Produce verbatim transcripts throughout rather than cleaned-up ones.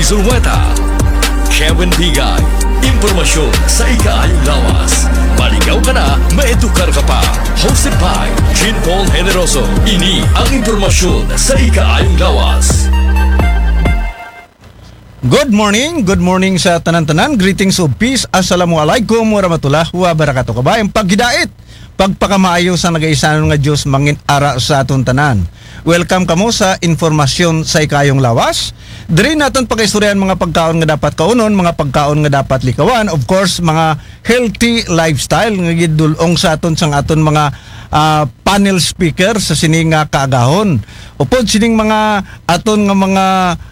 Zulueta, Kevin Pigay. Impormasyon sa ikaayong lawas. Maligaw ka na, maedukar ka pa. Hosted by Jean Paul Generoso. Ini ang impormasyon sa ikaayong lawas. Good morning, good morning sa tanan-tanan. Greetings of peace. Assalamualaikum warahmatullahi wabarakatuh. Kabayan, paghidait, pagpakamaayo sa nagaisanon nga Dios mangin ara sa aton tanan. Welcome kamo sa informasyon sa ikayong lawas. Diri naton pagaistoryahan mga pagkaon nga dapat kaunon, mga pagkaon nga dapat likawan, of course, mga healthy lifestyle nga gidul-ong sa aton sang aton mga ah, panel speaker sa sini nga kaagahon. Upod sining mga aton nga mga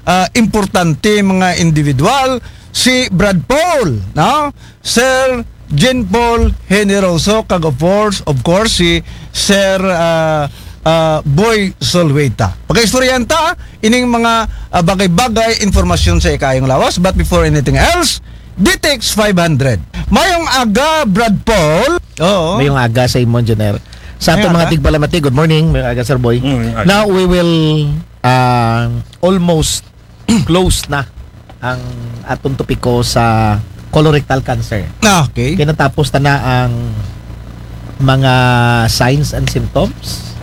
ah, importante mga individual, si Brad Paul, no? Sir Jean Paul Generoso, kag of course, of course si Sir ah, ah, Boy Solweta. Pagaistoryahan ta ining mga ah, bagay-bagay, informasyon sa ikayong lawas. But before anything else, D T X five hundred. Mayong aga, Brad Paul. Oo. Mayong aga sa imo, Engineer. Sa aton Mayong mga aga. Tigpalamati, good morning. Mayong aga, Sir Boy. Mm, mayong aga. Now, we will uh, almost close na ang atong topiko sa colorectal cancer. Ah, okay. Kaya natapos ta na ang mga signs and symptoms.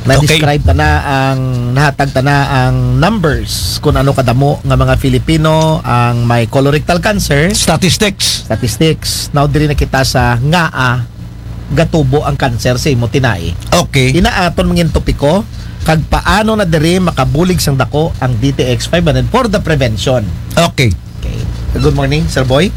Na-describe ta na ang, nahatag ta na ang numbers kung ano kadamo nga mga Filipino ang may colorectal cancer. Statistics. Statistics. Now, diri na kita sa ngaa gatubo ang cancer sa imo tinai. Okay. Ina aton mangin topiko, kag paano na diri makabulig sang dako ang D T X five hundred for the prevention. Okay. Okay. Good morning, Sir Boy.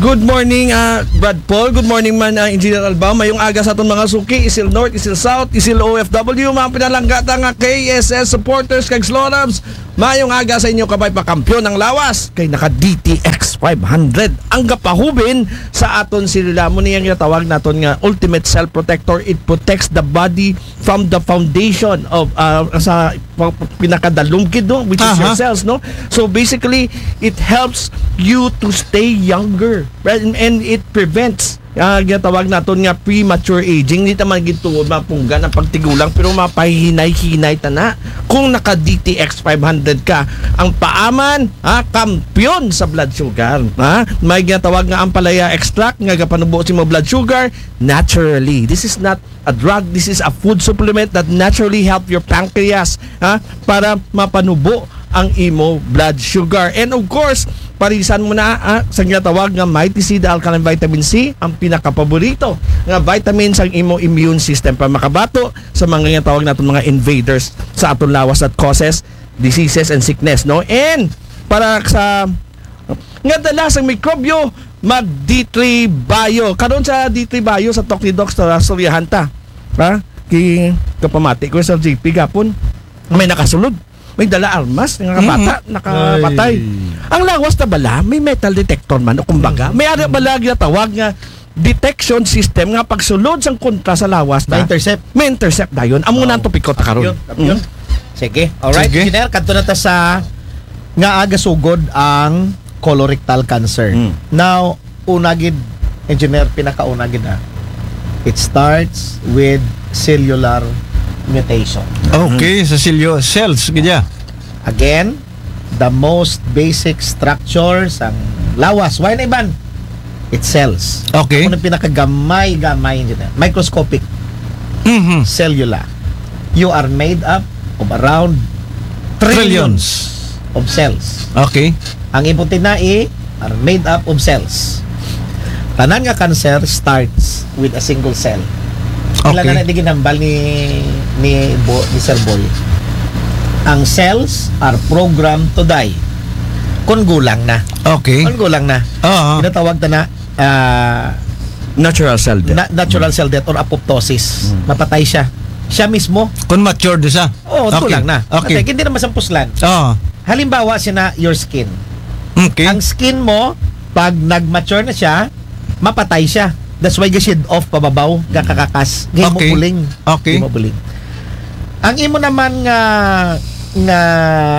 Good morning, ah, Brad Paul. Good morning man, ah, Engineer Albao. Mayong aga sa aton mga suki, Isil North, Isil South, Isil O F W, mga pinalangga ta nga K S S supporters kag Slorabs. Mayong aga sa inyo, kabay, pakampyon ang lawas kay naka D T X five hundred ang gapahubin sa aton selula. Amo ni ang ginatawag naton nga ultimate cell protector. It protects the body from the foundation of, ah, sa pa- pinakadalumgid, no, which is your Aha. cells, no? So basically, it helps you to stay younger, right? And, and it prevents ah, ginatawag naton nga premature aging. Hindi naman gituod mapunggan ang pagtigulang, pero mapahinay-hinay ta na kung naka D T X five hundred ka. Ang paaman, ha, kampiyon sa blood sugar, ha? May ginatawag nga ampalaya extract nga gapanubo sa imo blood sugar naturally. This is not a drug, this is a food supplement that naturally help your pancreas, ha, para mapanubo ang imo blood sugar. And of course, parisan mo na, ah, sa ginatawag nga Mighty C, the alkaline vitamin C, ang pinakapaborito nga vitamin sa imo immune system para makabato sa mga ginatawag naton mga invaders sa aton lawas that causes diseases and sickness, no? And para sa nga dala sa mikrobyo, mag D three Bio. Karon sa D three Bio sa Talk ni Doc sa istoryahan ta. Ha? Ki kapamati ko sa G P gapon. May nakasulod. May dala armas, nga bata, nakapatay. Ang lawas na bala, may metal detector man, o kumbaga, may ara bala ginatawag nga detection system nga pagsulod sang kontra sa lawas na Ma-intercept. May intercept dayon. Amo na ang topiko ta karon. Yun, yun. Sige. Alright, Sige. Engineer, kadto na ta sa nga aga sugod ang colorectal cancer. Mm. Now, una gid, Engineer, pinakauna gid na. It starts with cellular mutation. Okay, sa silyo, cells, gidya. Again, the most basic structure sang lawas. Why na iban? It's cells. Okay. Kung pinakagamay-gamay, Engineer, microscopic, Mhm. cellular. You are made up of around trillions, Trillions. of cells. Okay. Ang imo tinai are made up of cells. Tanan nga cancer starts with a single cell. Ila Okay. na di ginambal ni ni Bo, ni Sir Boy. Ang cells are programmed to die. Kung gulang na. Okay. Kung gulang na. Oo. Ginatawag ta na ah, Natural cell death. na- natural cell death or apoptosis. Mapatay siya. Siya mismo. Kung matured siya. Oo, Okay. gulang na. Okay. Patay, hindi na masampuslan. Oo. Halimbawa, sina your skin. Okay. Ang skin mo, pag nag-mature na siya, mapatay siya. That's why ga-shed off pababaw, gakakakas, gimo Okay. buling. Okay. Gimo buling. Ang imo naman nga nga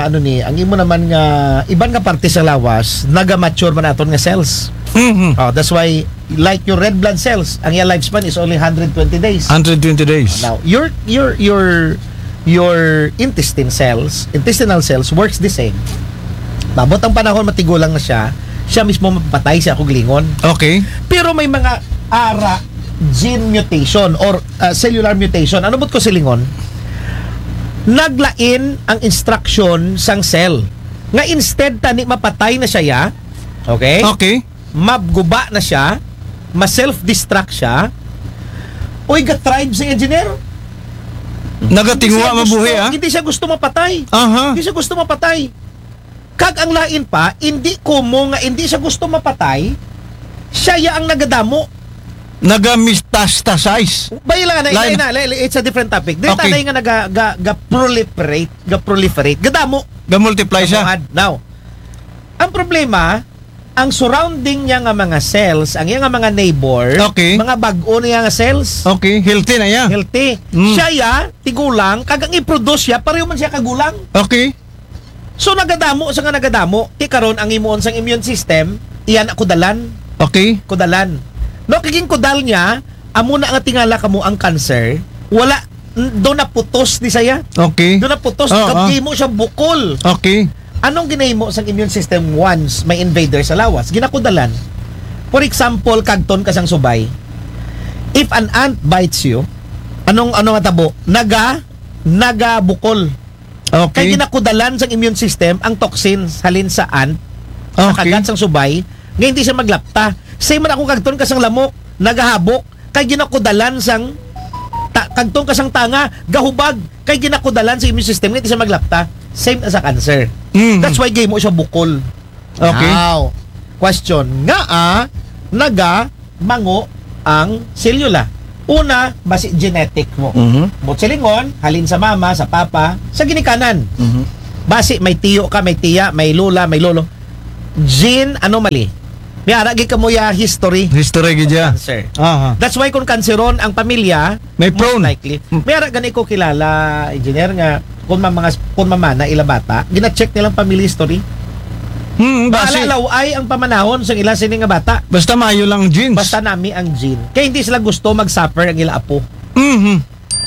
ano ni, ang imo naman nga iban nga parte sa lawas, naga-mature man aton nga cells. Mhm. Oh, that's why, like your red blood cells, ang iyang lifespan is only one hundred twenty days. Hundred twenty days. Now, your your your your intestine cells, intestinal cells works the same. Maabot ang panahon, matigulang na siya, siya mismo mapatay, siya ako gilingon. Okay. Pero may mga ara gene mutation or uh, cellular mutation. Ano buot ko silingon? Naglain ang instruction sang cell. Nga instead tani mapatay na siya, ya? Okay? Okay. Mabguba na siya, ma-self-destruct siya. Uy, ga-thrive si engineer. Nagatinguha Hindi siya gusto- mabuhi, ah. Hindi siya gusto mapatay. Aha. Hindi siya gusto mapatay. Kag ang lain pa, hindi kumo nga hindi siya gusto mapatay, siya ya ang nagadamo. Nagamistastasize. Bay lang na, Lain. Lain na, lain, it's a different topic. Di Okay. tanay nga naga, ga, ga proliferate, ga proliferate. Gadamo. Ga-multiply siya. Now, ang problema, ang surrounding niya nga mga cells, ang iya nga mga neighbor, Okay. mga bag-o niya nga cells, Okay, healthy na yan. healthy. Mm. Siya ya, tigulang, kag ang i-produce siya, pareho man siya kagulang. Okay. So nagadamo sa nga nagadamo, ti karon ang imuon sang immune system, iyan ako dalan, Okay. kudalan. No, kaging kudal niya, amo na nga tingala kamo ang cancer, wala, n- do na putos ni saya. Okay. Do na putos, Oo, kag ah. Gihimo siya bukol. Okay. Anong ginahimo sang immune system once may invader sa lawas? Ginakudalan. For example, kagton ka sang subay. If an ant bites you, anong ano nga tabo? Naga naga bukol. Kay Okay. Ginakudalan sang immune system ang toxins halin sa ant, sa Okay. kagat sang subay, nga hindi siya maglapta. Same man ako kagton ka sang lamok, nagahabok, kay ginakudalan sang ta, kagton ka sang tanga, gahubag, kay ginakudalan sa immune system nga hindi siya maglapta. Same na sa cancer. Mhm. That's why gihimo siya bukol. Okay. Now, question, ngaa naga mango ang selula? Una, basi genetic mo. Mhm. Buot silingon, halin sa mama, sa papa, sa ginikanan. Mhm. Basi may tiyo ka, may tiya, may lula, may lolo. Gene anomaly. May ara gid kamo ya history. History gid ya. Cancer. Aha. That's why kung kanseron ang pamilya, May most prone. Likely. Hmm. May ara gani ko kilala, engineer, nga kung ma-, mga kung mamana ila bata, gina-check nilang family history. Hmm, Basi basi. Laway ang pamanahon sa ila sini nga bata. Basta maayo lang ang genes. Basta nami ang gene. Kaya hindi sila gusto mag-suffer ang ila apo. Mhm.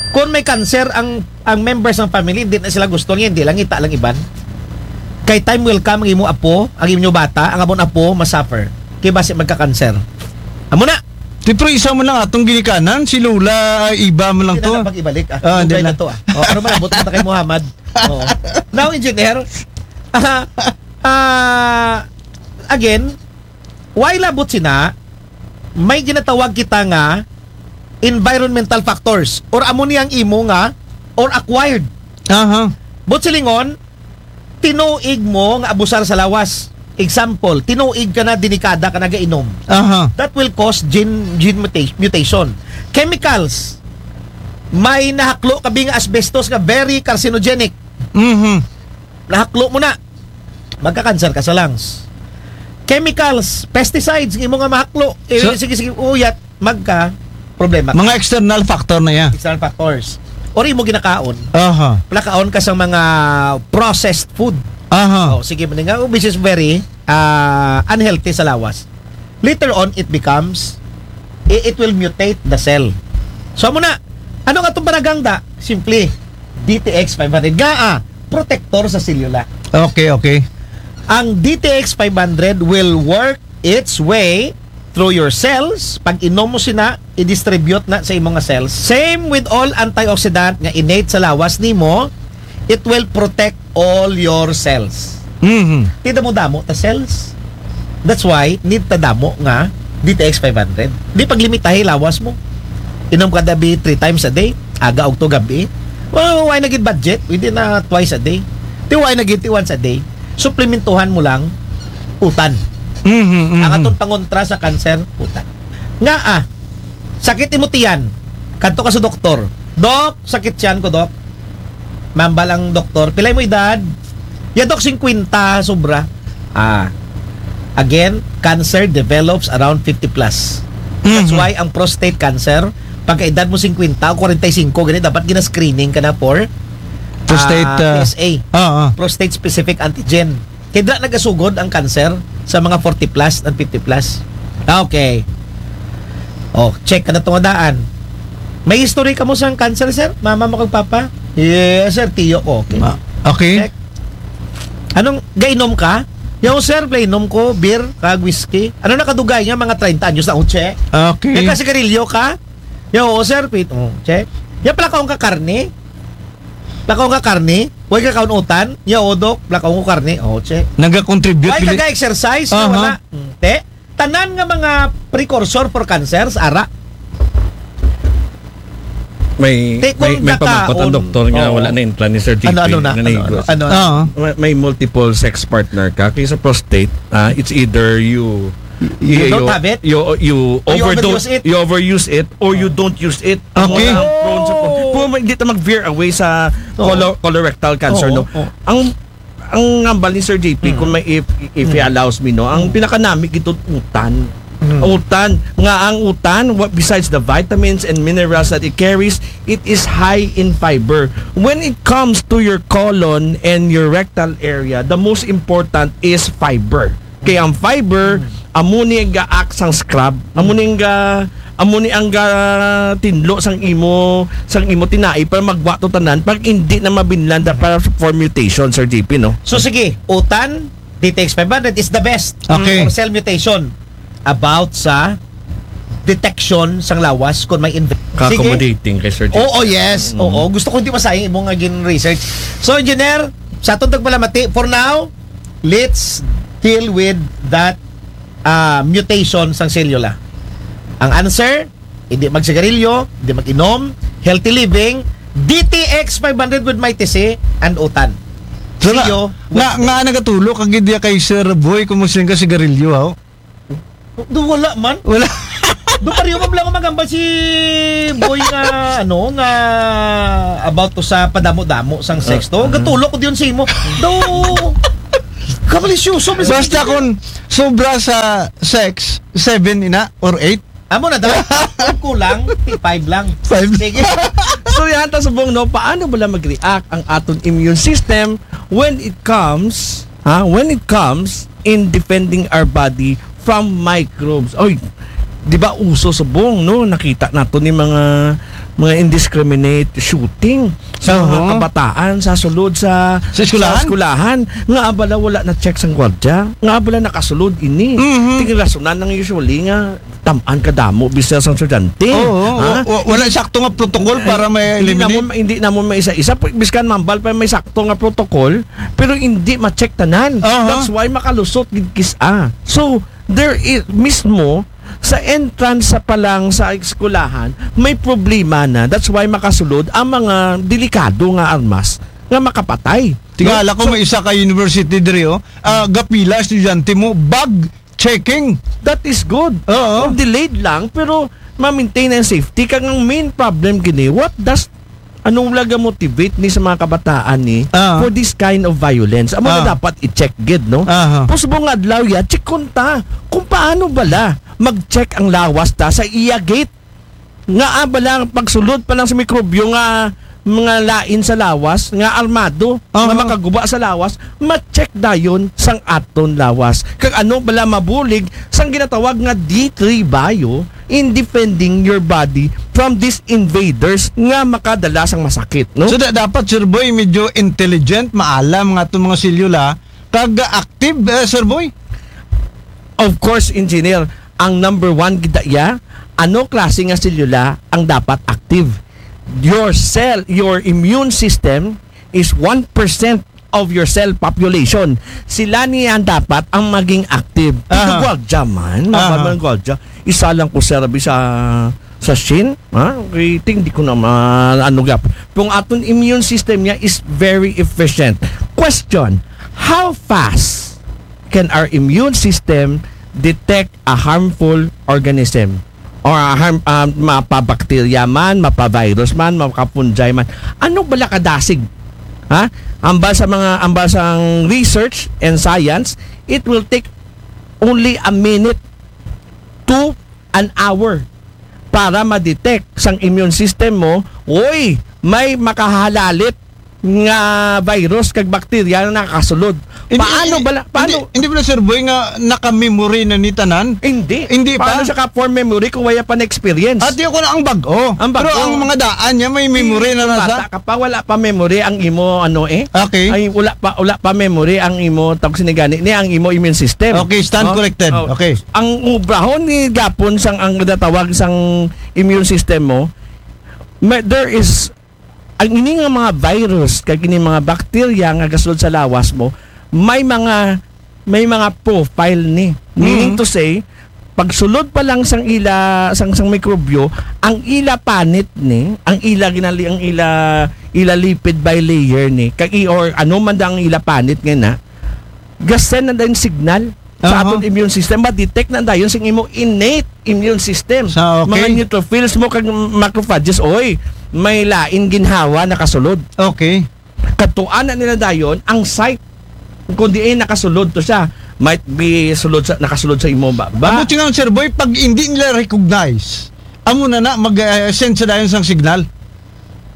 Kung may cancer ang ang members ng family, hindi na sila gusto niya, hindi lang ita lang iban. Kay time will come, ang imo apo, ang imo bata, ang amon apo, ma-suffer. Kay basi magka-cancer. Amo na. Ti, pero isa mo lang atong ginikanan, si Lola, ay, iba mo lang Hindi to. Na pag-ibalik, ah. Ah, Dugay hindi na na. To, ah. Oh, pero malabot na kay Muhammad. Oo. Now, engineer, ah, ah, again, why labot sina, may ginatawag kita nga environmental factors or amo niyang imo nga or acquired. Aha. Buot silingon, tinuig mo nga abusar sa lawas. Example, tinuig ka na, denikada ka nagainom. Aha. That will cause gene, gene muta- mutation. Chemicals. May nahaklo kabi nga asbestos nga very carcinogenic. Mhm. Nahaklo mo na. Magka-cancer ka sa lungs. Chemicals, pesticides, imo nga mahaklo. Eh, So- sige, sige, uyat, magka problema. Mga external factor na yan. External factors. Or imo ginakaon. Aha. Nakaon ka sa mga processed food. Aha. Oh, sige man nga, oh, which is very ah, unhealthy sa lawas. Later on, it becomes, it, it will mutate the cell. So, amo na, ano nga itong panagangda? Simply, D T X five hundred. Nga, ah, protector sa selula. Okay, okay. Ang D T X five hundred will work its way through your cells. Pag inom mo sina, i-distribute na sa imong nga cells. Same with all antioxidant nga innate sa lawas nimo, it will protect all your cells. Mhm. Ti damo-damo ta cells. That's why need ta damo nga D T X five hundred. Di paglimitahi lawas mo. Inom ka dabi three times a day, aga, ugto, gabi. Well, why na gid budget? Pwede na twice a day. Ti why na gid ti once a day? Suplementuhan mo lang utan. Mhm, mhm. Ang atong pangontra sa cancer, utan. Nga ah, sakit imo tiyan. Kadto ka sa doktor. Dok, sakit tiyan ko, Dok. Mambal ang doktor, pila mo edad? Ya, Dok, singkwenta, sobra. Ah. Again, cancer develops around fifty plus. That's Mhm. Why ang prostate cancer, pagka edad mo singkwenta o kwarenta y singko, gani, dapat gina-screening ka na for Prostate, ah, ah, P S A. Ah, ah. Prostate specific antigen. Kaya dira nagasugod ang cancer sa mga forty plus and fifty plus. Okay. Oh, check ka na tungadaan. May history ka mo sa cancer, sir? Mama mo kag papa? Yes, sir. Tiyo ko. Okay. Ma- Okay. Check. Anong, gainom ka? Yo, sir, play inom ko, beer, kag whiskey. Ano na kadugay nga mga treinta anyos na, oh, che? Okay. Nagkasigarilyo ka? Yo, oo, sir, pit, oh, che. Ya, plakaon ka karne? Plakaon ka karne? Way ka kaon utan? Ya, oo, dok, plakaon ko karne. Oh, che. Nag-contribute. Way bili- ka ga-exercise? Aha. Wala. Hmm, te? Tanan nga mga precursor for cancers, ara. May, Te, may, kung may pamangkot ang nakaon- doktor nga Oo. wala na yung plan ni Sir J P. Ano, ano na? Ano, Nanigo. ano, ano? Oo. May, may multiple sex partner ka. Kaya sa prostate, ah, it's either you You don't have it? You, you, Or you overdo- overuse it? You overuse it or you don't use it. Okay. Wala ang prone sa pro- Kung hindi ta mag-veer away sa Oo. colo- colorectal cancer, Oo, no? oo. Ang ang ngambal ni Sir J P, kung may if, if he allows me, no, ang pinakanami gito utan. Utan. Nga ang utan, what, besides the vitamins and minerals that it carries, it is high in fiber. When it comes to your colon and your rectal area, the most important is fiber. Kaya ang fiber, amo ni ang ga-act sang scrub, amo ni ang ga amo ni ang ga tinlo sang imo sang imo tinai para magwa to tanan, pag hindi na mabinlanda para for mutation, Sir J P, no? So sige, utan, D T X five hundred is the best Okay. for cell mutation about sa detection sang lawas kung may inv- Sige. Accommodating kay Sir J P. Oo, yes. Oo, gusto ko hindi masayang imong nga gin research. So, engineer, sa atong tagpalamati, for now, let's deal with that uh, mutation sang selula. Ang answer, hindi magsigarilyo, hindi mag-inom, healthy living, D T X five hundred with Mighty C and utan. So, See nga, you. nga, nga nagatulo kag idea kay Sir Boy kung mo ka sigarilyo, ha? Do wala man. Wala. Do pareho man lang magambal si Boy nga ano nga about to sa padamo-damo sang sex to. Gatulok ko diyon sa imo. Do kamalis yun. Basta kung sobra sa sex, seven ina or eight. Amo na daw. Kulang, five lang. Five. Sige. So yan, ta subong, no, paano bala mag-react ang aton immune system when it comes, ha, when it comes in defending our body from microbes? Oy, di ba uso subong, no? Nakita nato ni mga mga indiscriminate shooting sa mga Oo. kabataan sa sulod sa Sa eskwelahan? Sa eskwelahan. Nga abala wala na check sang gwardya. Nga abala nakasulod ini. Mhm. Tingin rasonan ng usually nga tamaan kadamo bisita sang estudyante. Oo, Ha? wa- wa- wala sakto nga protocol para may Hindi eliminate. namon, hindi namon maisa-isa. Pu- Biskan mambal pa may sakto nga protocol, pero hindi ma-check tanan. Aha. That's why makalusot gid kis-a. So, there is, mismo, sa entrance sa palang sa eskwelahan, may problema na. That's why makasulod ang mga delikado nga armas nga makapatay. Tingala No? ko may isa ka university diri, oh. Ah, gapila estudyante mo, bag checking. That is good. Oo. Kung delayed lang, pero ma-maintain ang safety. Kag ang main problem gini, what does, anong laga motivate ni sa mga kabataan ni Ah. for this kind of violence? Amo Ah. na dapat i-check gid, no? Aha. Pusubong nga adlaw ya, check kunta kung paano bala mag-check ang lawas ta sa iya gate. Nga, ah, bala pagsulod pa lang sa mikrobyo nga mga lain sa lawas, nga armado, Aha. nga makaguba sa lawas, ma-check dayon sang aton lawas. Kag ano bala mabulig sang ginatawag nga D three bio in defending your body from these invaders nga makadala sang masakit, no? So da- dapat, Sir Boy, medyo intelligent, maalam nga itong mga selula, kag active, eh, Sir Boy. Of course, engineer, ang number one gid iya, ano klase nga selula ang dapat active? Your cell, your immune system is one percent of your cell population. Sila niya dapat ang maging active. Dito Aha. Gwardya man, Aha. mga gwardya. Isa lang ko, sir, abi sa sa Shin, ha? Okay, ting, di ko na ma-, ano gap. Kung aton immune system niya is very efficient. Question, how fast can our immune system detect a harmful organism? Or a harm, ah, mapa-bacteria man, mapa-virus man, mapa-fungi man. Ano bala kadasig? Ha? Ambal sa mga, ambal sa research and science, it will take only a minute to an hour para ma-detect sang immune system mo, oy, may makahalalit nga virus kag bakterya na nakasulod. Paano bala, paano? Hindi, hindi bala, Sir Boy, nga naka-memory na ni tanan? Hindi. Hindi pa? Paano siya ka-form memory kung wala pa na-experience? At yun ko na ang bag-o. Ang bag-o. Pero ang mga daan niya, may memory na nasa. Bata ka pa, wala pa memory ang imo, ano eh. Okay. Ay, wala pa, wala pa memory ang imo, tawag sinigani, ni ang imo immune system. Okay, stand corrected. Oh. Okay. Ang obrahon ni gapon sang ang natawag sang immune system mo, may, there is ang ini nga mga virus kag ini mga bakterya nga gasulod sa lawas mo, may mga may mga profile ni. Meaning to say, pagsulod pa lang sang ila sang sang mikrobyo, ang ila panit ni, ang ila ginali ang ila ila lipid bilayer ni, kag i- or ano man da ang ila panit nga na, gasen na din signal sa aton immune system, ma-detect na dayon sing imo innate immune system. Sa, okay. Mga neutrophils mo kag macrophages, oy, may lain ginhawa nakasulod. Okay. Katuan na nila dayon ang site kung diin nakasulod to siya. Might be sulod sa, nakasulod sa imo ba? Ba? Amo nga, Sir Boy, pag hindi nila recognize, amo na na mag-send sa dayon sang signal.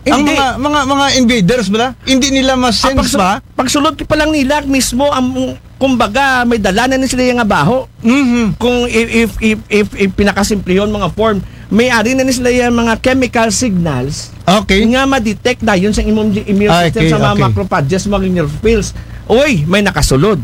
Ang mga mga mga invaders bala, hindi nila ma-sense ba? Pagsulod pa lang nila mismo ang, kumbaga, may dala na ni sila nga baho. Mhm. Kung if if if if, if pinakasimplihon mga form, may ari na ni sila yung mga chemical signals. Okay. Nga ma-detect dayon sa imong immune system, sa mga macrophages, mga neutrophils. Uy, may nakasulod.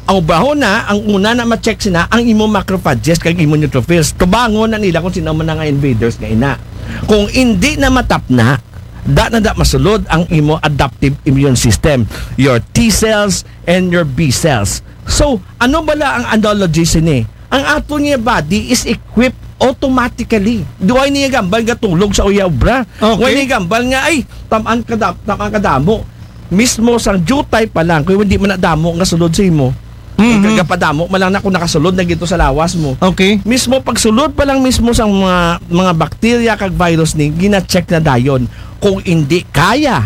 Ang baho na, ang una na ma-check sina ang imo macrophages kag imo neutrophils. Tubangon na nila kung sino man nga invaders nga ina. Kung hindi na matapna, da na da masulod ang imo adaptive immune system, your T cells and your B cells. So, ano bala ang analogy sini? Ang ato niya body is equipped automatically. Duway niya gambal nga tulog sa uya obra. Okay. Way niya gambal nga, ay, tamaan ka da- tamaan ka damo. Mismo sang jutay pa lang, kung hindi man na damo nga sulod sa imo, mm-hmm, kapadamo man lang na kung nakasulod na gito sa lawas mo. Okay. Mismo pagsulod pa lang mismo sang mga mga bakterya kag virus ni, gina-check na dayon kung hindi kaya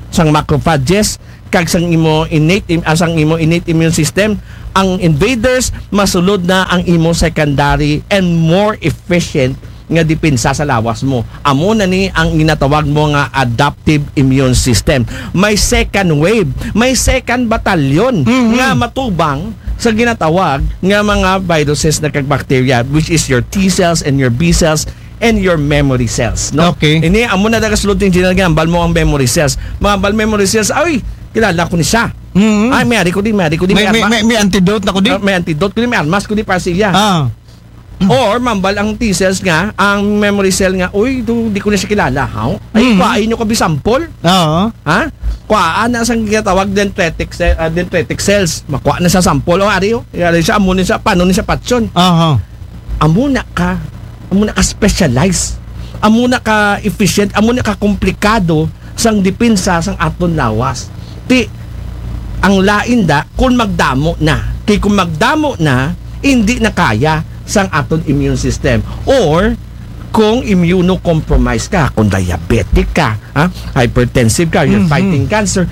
sang macrophages kag sang imo innate im- ah, sang imo innate immune system, ang invaders, masulod na ang imo secondary and more efficient nga depensa sa lawas mo. Amo na ni ang ginatawag mo nga adaptive immune system. May second wave, may second battalion, mhm, nga matubang sa ginatawag nga mga viruses na kag bacteria, which is your T cells and your B cells and your memory cells, no? Okay. Ini amo na daga sulod ni General nga ambal mo ang memory cells. Mga ambal memory cells, ay, kilala ko ni siya. Mhm. Ay, may ari ko di, may ari ko di, may, may, may, may antidote na ko di. Ah, may antidote ko di, may armas ko di para siya. Ah. Or mambal ang T cells nga, ang memory cell nga, uy, do, di ko na siya kilala, haw? Ay, mm, kuhain nyo ko bi sample. Oo. Ha? Kuhaan na sang ginatawag dendritic, cell, ah, dendritic cells. Makuha na sa sample. O, ari, o. Ari siya, amo ni siya, paano ni siya patyon? Aha. Amo na ka, amo na ka specialize. Amo na ka efficient, amo na ka komplikado sang depensa sang aton lawas. Ti, ang lain da, kung magdamo na. Kay kung magdamo na, hindi na kaya sang aton immune system. Or, kung immunocompromised ka, kung diabetic ka, ha, hypertensive ka, you're, mhm, fighting cancer,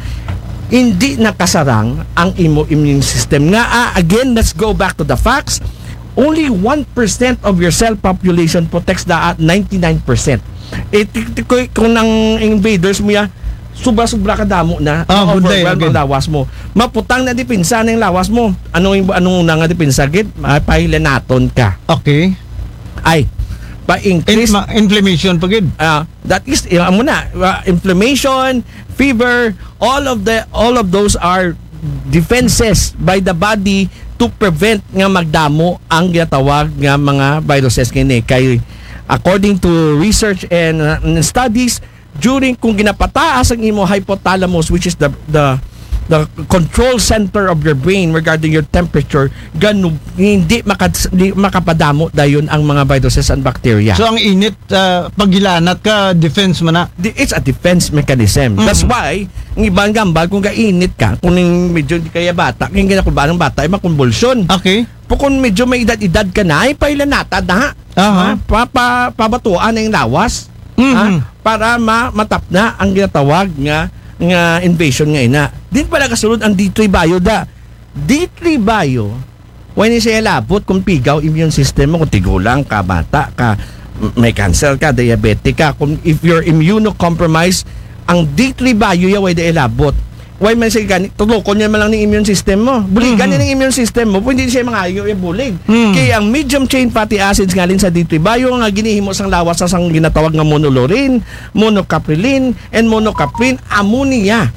hindi nakasarang ang imo immune system. Nga, ah, again, let's go back to the facts. Only one percent of your cell population protects the, ah, ninety-nine percent. Eh, ti- ti- kung, kung ang invaders mo ya, sobra-sobra ka damo na, ah, overwhelm ang lawas mo. Maputang na depensa na yung lawas mo. Anong, anong una nga depensa, gid? Ah, pahilanaton ka. Okay. Ay, pa-increase. In- ma- inflammation pa, gid. Ah, that is, yung, amo na, ah, inflammation, fever, all of the, all of those are defenses by the body to prevent nga magdamo ang ginatawag nga mga viruses kini. Kay according to research and, uh, and studies, during kung ginapataas ang imo hypothalamus, which is the the the control center of your brain regarding your temperature, ganu hindi maka, di makapadamo dayon ang mga viruses and bacteria. So ang init, ah, paghilanat ka, defense man na. Di- It's a defense mechanism. Mm. That's why, ang ibang gambal, kung kainit ka, kung yung medyo di kaya bata, kaya ginakulba ng bata, ay makonvulsyon. Okay. Pero kung medyo may edad-edad ka na, ay pailanata na. Aha. Ha? Pa, pa, pabatuan na yung lawas. Mhm. Ha? Para ma, matapna ang ginatawag nga, nga invasion nga ina. Din pala kasunod ang D three Bio da. D three Bio, when siya labot kung pigaw immune system mo, kung tigulang ka, bata ka, m- may cancer ka, diabetic ka, kung if you're immunocompromised, Ang D three bio ya, way da ilabot. Way man siya gani, tutukon niya man lang ning immune system mo. Buligan niya ning immune system mo, pwede siya mangayo ya bulig. Kay ang medium chain fatty acids ngalin sa D three bio nga ginhimo sang lawas sa sang ginatawag nga monolaurin, monocaprilin, and monocaprin, amo niya.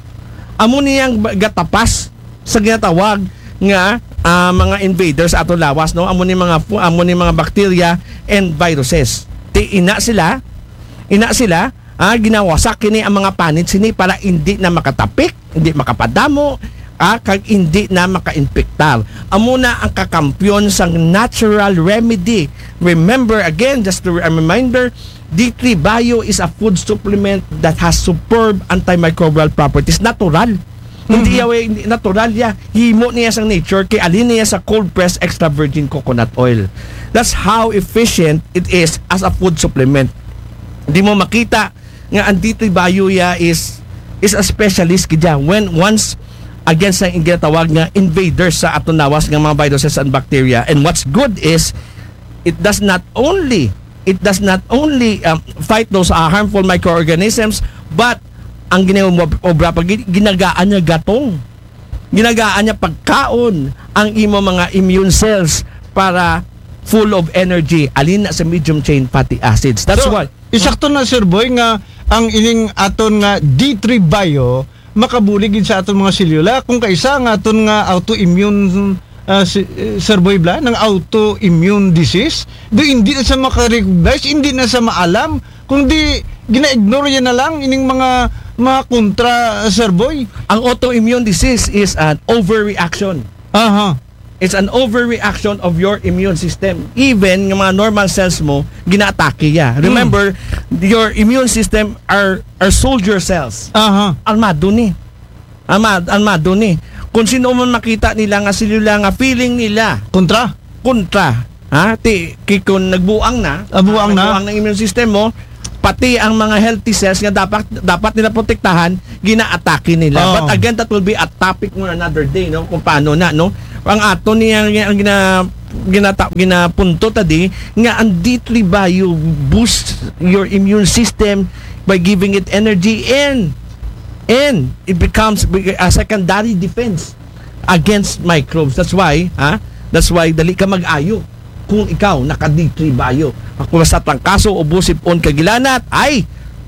Amo niya ang ba- gatapas sa ginatawag nga ah, mga invaders ato lawas, no? Amo ni mga fu- amo ni mga bacteria and viruses. Ti ina sila, ina sila, ah, ginawasak kini ang mga panit sini para hindi na makatapik, hindi makapadamo, ah, kag hindi na makainpektar. Amo na ang kakampiyon sang natural remedy. Remember again, just to a reminder, D three Bio is a food supplement that has superb antimicrobial properties. Natural. Hindi ya, way- hindi, natural ya. Himo niya sang nature, kay alin niya sa cold pressed extra virgin coconut oil. That's how efficient it is as a food supplement. Di mo makita nga ang D three Bio ya is is a specialist kidya when once against ang ginatawag nga invaders sa aton lawas nga mga viruses and bacteria. And what's good is it does not only it does not only um, fight those uh, harmful microorganisms, but ang ginaobra pa gin- ginagaan niya gatong, ginagaan niya pagkaon ang imo mga immune cells para full of energy, alin na sa medium chain fatty acids. That's So, why Isakto na, Sir Boy, nga ang ining aton nga D three Bio makabulig gid sa aton mga selula kung kaisa nga aton nga autoimmune, ah, si, eh, Sir Boy, bala nga autoimmune disease, do hindi na sa makarecognize, hindi na sa maalam, kung di gina-ignore yan na lang ining mga mga kontra, Sir Boy. Ang autoimmune disease is an overreaction. Aha. It's an overreaction of your immune system. Even ng mga normal cells mo, ginaatake ya. Remember, your immune system are are soldier cells. Aha. Armado ni. Armado, armado ni. Kung sino man makita nila nga selula nga feeling nila Kontra. kontra, ha? Ti, ki, kung nagbuang na, Ah, buang na. nagbuang ng immune system mo, pati ang mga healthy cells nga dapat dapat nila protektahan, ginaatake nila. Oo. But again, that will be a topic mo another day, no? Kung paano na, no? Ang ato niya ang gina ginata, ginapunto tadi nga ang D three Bio boosts your immune system by giving it energy and and it becomes a secondary defense against microbes. That's why, ha? That's why dali ka mag-ayo kung ikaw naka D three Bio. Kung sa trangkaso o busip on kagilanat, ay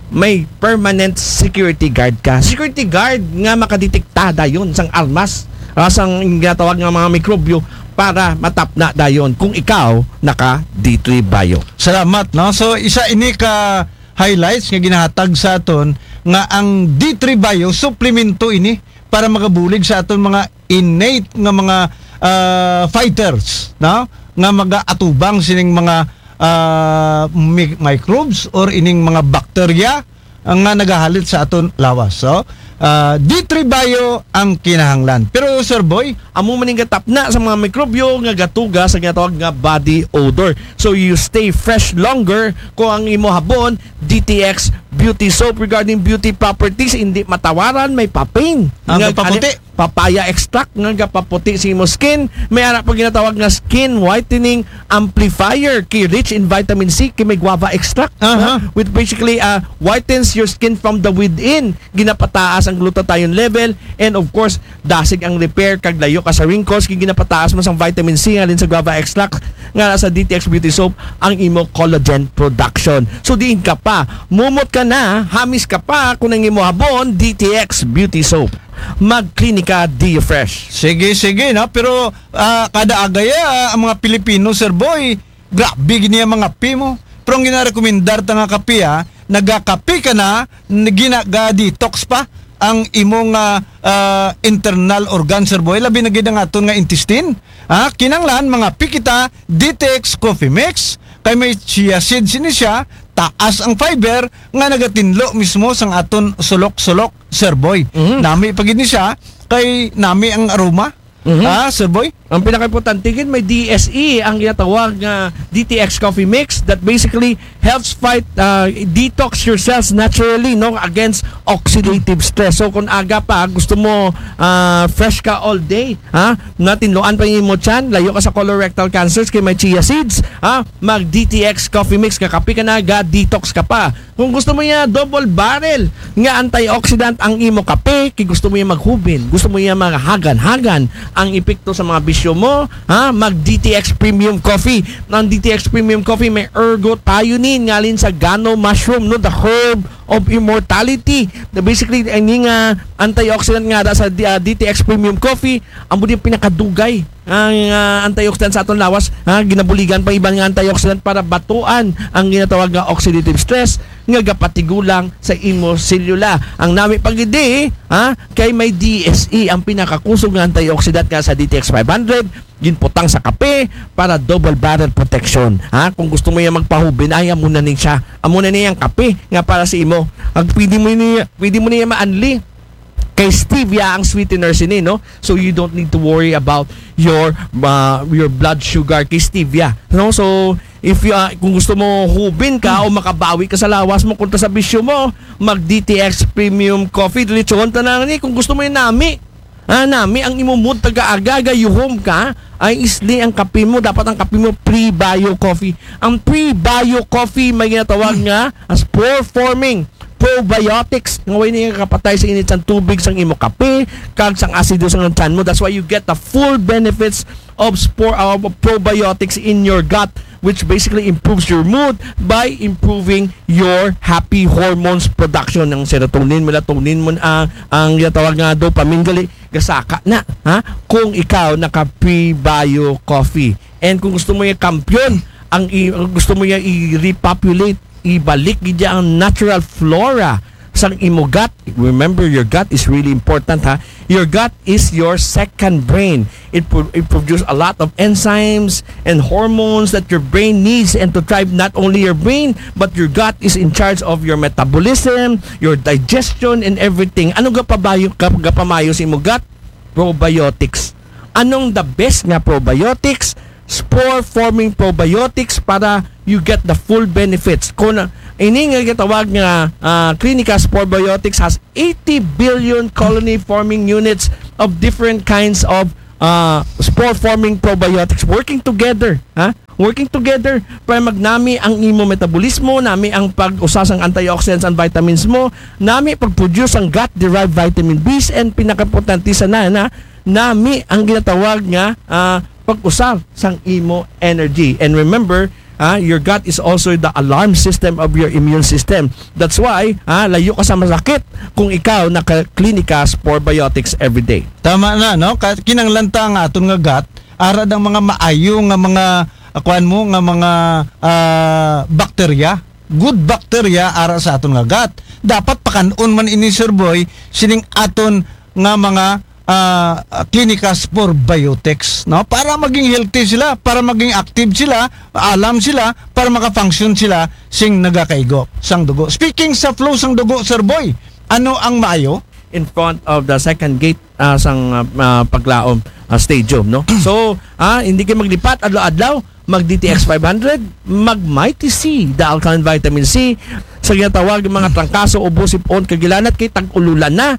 may permanent security guard ka. Security guard nga makadetekta dayon sang armas, ah, sang ginatawag nga mga mikrobyo para matapna dayon kung ikaw naka D three Bio. Salamat, no? So, isa ini ka highlights nga ginahatag sa aton nga ang D three Bio suplemento ini para makabulig sa aton mga innate nga mga ah, fighters, no? Nga magaatubang sining mga ah, mi- microbes or ining mga bakterya nga nagahalit sa aton lawas. So, ah, D three Bio ang kinahanglan. Pero, Sir Boy, Amo man ning gatapna sa mga mikrobyo nga gatuga sa ginatawag nga body odor. So you stay fresh longer kung ang imo habon, D T X Beauty Soap. Regarding beauty properties, hindi matawaran, may papain. Ang Nga- gapaputi. Papaya extract nga gapaputi sa imo skin. May ara pa ginatawag nga skin whitening amplifier, kay rich in vitamin C, kay may guava extract, Aha. no? Which basically uh, whitens your skin from the within. Ginapataas ang glutathione level, and of course, dasig ang repair kag layo ka sa wrinkles, kay ginapataas man sang vitamin C ngalin sa guava extract nga nasa D T X Beauty Soap ang imo collagen production. So diin ka pa, mumot ka na, hamis ka pa, kung ang imo habon, D T X Beauty Soap. Mag-Clinica D Fresh. Sige, sige, no? Pero ah, kada agaya, ah, ang mga Pilipino, Sir Boy, grabe gini ang mga kape mo. Pero ang ginarekomendar ta nga kape, ah, nagakape ka na, ginaga-detox pa ang imong ah, ah, internal organ, Sir Boy. Labi na gid ang aton nga intestine. Ha? Kinanglan, mga pikita, D T X Coffee Mix, kay may chia seeds ini siya, taas ang fiber, nga nagatinlo mismo sang aton sulok-sulok, Sir Boy. Mhm. Nami pa gid ni siya, kay nami ang aroma. Mhm. Ha, Sir Boy? Ang pinakaimportante gid, may D S E ang ginatawag nga D T X Coffee Mix that basically helps fight, uh, detox your cells naturally, no, against oxidative stress. So kung aga pa gusto mo, uh, fresh ka all day, ha, natinloan pa yung imo tiyan, layo ka sa colorectal cancers kay may chia seeds, ha, mag D T X Coffee Mix, kakape ka na, ga detox ka pa. Kung gusto mo niya double barrel nga antioxidant ang imo kape, kay gusto mo niya maghubin, gusto mo niya maghagan-hagan ang epekto sa mga bisyo mo, ha? Mag D T X Premium Coffee. Ang D T X Premium Coffee may ergothioneine ngalin sa gano mushroom, no, the herb of immortality. Na basically, ang nga antioxidant nga ada sa D- ah, D T X Premium Coffee, ang mo pinakadugay ang, ah, antioxidant sa aton lawas, ha, ginabuligan pa iban nga antioxidant para batuan ang ginatawag nga oxidative stress nga gapatigulang sa imo selula. Ang nami pa gid, ha, kay may D S E ang pinakakusog nga antioxidant nga sa D T X five hundred, ginputang sa kape para double barrel protection. Ha, kung gusto mo yan magpahubin, ay amo na ni siya. Amo na ni ang kape nga para sa imo. Ang pwede mo niya, pwede mo niya maanli kay stevia ang sweetener sini, no? So you don't need to worry about your, uh, your blood sugar kay stevia, no? So if you, uh, kung gusto mo hubin ka o makabawi ka sa lawas mo kontra sa bisyo mo, mag D T X Premium Coffee, diretsohon ta na ni. Kung gusto mo yung nami, ah, nami ang imo mood, taga-aga, gayuhom ka, ay isli ang kape mo. Dapat ang kape mo pre-bio coffee. Ang pre-bio coffee may ginatawag nga as spore forming probiotics nga way niya kapatay sa init sang tubig, sang imo kape, kag sang asido sang tiyan mo. That's why you get the full benefits of spore, uh, of probiotics in your gut, which basically improves your mood by improving your happy hormones production, ng serotonin, melatonin mo, ah, ang ginatawag nga dopamine, gali gasaka na, ha, kung ikaw naka prebio coffee. And kung gusto mo yung kampiyon, ang i- gusto mo yung i-repopulate, ibalik gid ang natural flora sang imo gut. Remember, your gut is really important, ha. Your gut is your second brain. It, pro- it produces a lot of enzymes and hormones that your brain needs, and to thrive, not only your brain but your gut is in charge of your metabolism, your digestion, and everything. Ano gapabayo, gap- gapamayo sa imo gut? Probiotics. Anong the best nga probiotics? Spore forming probiotics para you get the full benefits. Kung, uh, ini nga gitawag nga, uh, Clinica Spore Biotics has eighty billion colony forming units of different kinds of, uh, spore forming probiotics working together, ha? Working together para magnami ang imo metabolismo, nami ang pag-usa sang antioxidants and vitamins mo, nami pag-produce ang gut-derived vitamin Bs, and pinakaimportante sa na, na nami ang ginatawag nga, ah, pag-usar sang imo energy. And remember, ah, your gut is also the alarm system of your immune system. That's why, ah, layo ka sa masakit kung ikaw naka-Clinica Spore Biotics every day. Tama na, no? Ka- kinanglan ta nga aton nga gut, ara dang mga maayo nga mga, ah, kuan mo, nga mga, ah, bakterya, good bacteria ara sa aton nga gut. Dapat pakan-on man ini, Sir Boy, sining aton nga mga, ah, ah, Clinica Spore Biotics, no? Para maging healthy sila, para maging active sila, alam sila, para maka-function sila sing nagakaigo sang dugo. Speaking sa flow sang dugo, Sir Boy, ano ang maayo? In front of the second gate, ah, sang, ah, ah, Paglaom, ah, Stadium, no? So, ah, hindi kayo maglipat adlaw-adlaw, mag D T X five hundred, mag Mighty C, the alkaline vitamin C, sa ginatawag ng mga trangkaso, ubo, sipon, kagilanat, kay tag-ululan na,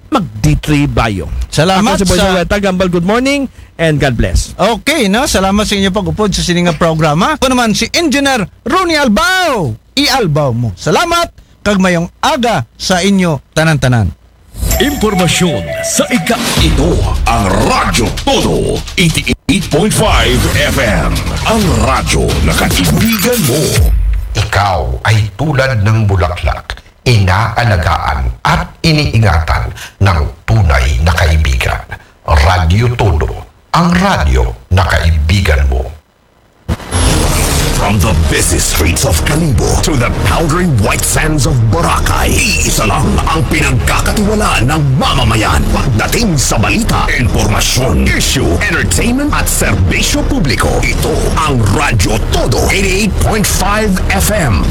mag D three Bio. Salamat Ako si Boy sa Joel Tagambal. Good morning and God bless. Okay, no? Salamat sa inyo pag-upod sa sining nga programa. Ako naman si Engineer Ronnie Albao. I-Albao mo. Salamat, kag mayong aga sa inyo tanan-tanan. Impormasyon sa ika. Ito ang Radyo Todo, eighty-eight point five F M. Ang radyo na kaibigan mo. Ikaw ay tulad ng bulaklak, inaalagaan at iniingatan ng tunay na kaibigan. Radyo Todo, ang radyo na kaibigan mo. From the busy streets of Kalibo to the powdery white sands of Boracay, iisa lang ang pinagkakatiwalaan ng mamamayan. Pagdating sa balita, impormasyon, issue, entertainment at serbisyo publiko, ito ang Radyo Todo, eighty-eight point five F M.